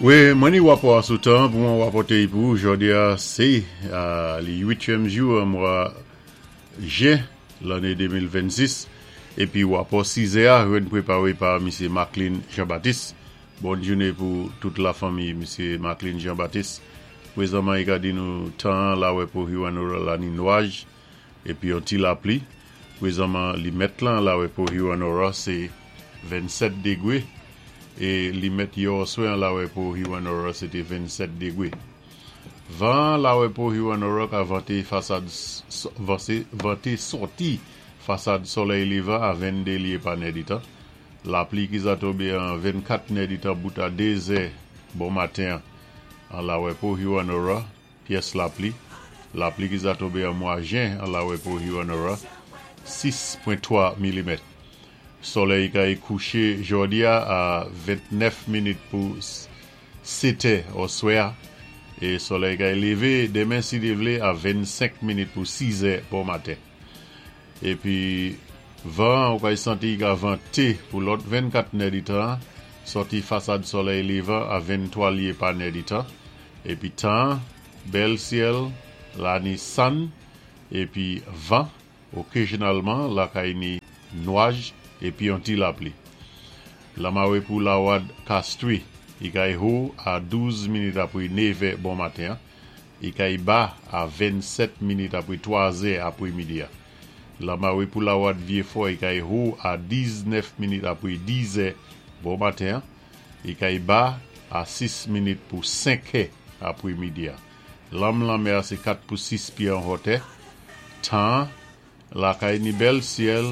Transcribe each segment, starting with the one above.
Wi, mwen ni wapò a sou tan pou mwen wapòté-y pou ou. Jòdi-a sé li uityèm jou an mwa jen lanné 2026 épi wapò sizè-a jwenn préparé pa Misyé Macklin Jean Baptiste. Bòn jouné pou tout lafanmi Misyé Macklin Jean Baptiste. Prézanman i ka di nou tan an la wè pou Hewanorra la ni nwaj épi yon ti lapli. Prézanman limèt lan la wè pou Hewanorra sé 27 degwé é limèt yè oswè an la wè pou Hewanorra sé té 27 degwé. Van an la wè pou Hewanorra ka vanté fasad vanté sòti fasad solèy lévan a 22 lyé pa nèditan. Lapli ki za tonbé an 24 nèditan bout a 2 zè bon maten an la wè pou Hewanorra. Pyès lapli, Lapli ki za tonbe an mwa jen an Lawepo Hewanorra, 6.3 milimèt. Solèy kay kouché jòdi a a 29 minit pou 7 è oswè a e solèy kay lévé demen si Dye vlé a 25 minit pou 6 è bon maten. Epi van an ou kay santi i ka vante pou lòt 24 nèditan an sòti fasad solèy lévan a 23 lye pa nèditan. Epi tan an, bèl syèl, la ni sann, epi van, okezyonalman lakay ni nwaj epi yon ti lapli. Lamare pou Lawad Kastri, i kay ho a 12 minit apre nevè bon maten an, i kay ba a 27 minit apre 3 zè apre midi a. Lamare pou Lawad Vyefò, i kay ho a 19 minit apre 10 zè bon maten an, Li kay ba a 6 minit pou 5 è apre midi a. Lanm lanmè a sé 4 pou 6 pyé an hòtè. Tan an, lakay ni bèl syèl,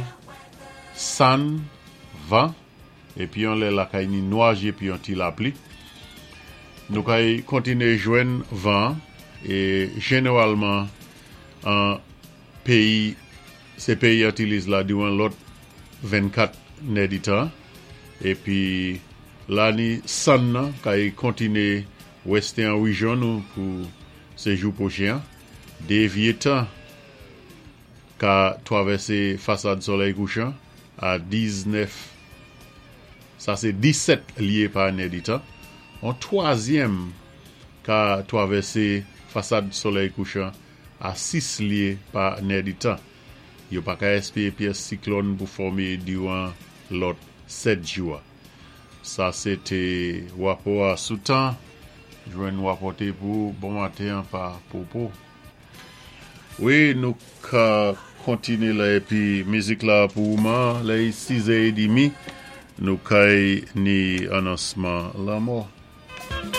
sann, van, épi yon lè lakay ni nwaj épi yon ti lapli. Nou kay kontiné jwenn van an é jeneralman an Peyi se peyi Antiliz la diran lòt 24 nèditan epi la ni sann nan kay kontine weste an rejyon nou pou se jou pwochen an. Devye tan ka twavèse fasad solèy kouchan a 19 sa se 17 lye pa nèditan. On twazyèm ka twavèse fasad solèy kouchan a 6 lye pa nèditan. Yo pa ka espere pyès siklòn pou fòme diran lòt 7 jou a. Sa se te rapò a sou tan, jwenn rapòte pou ou bon maten an pa Popo. Wi nou ka kontine la epi mizik la pou ou man lè i 6 è edimi nou kay ni anonsman lanmò.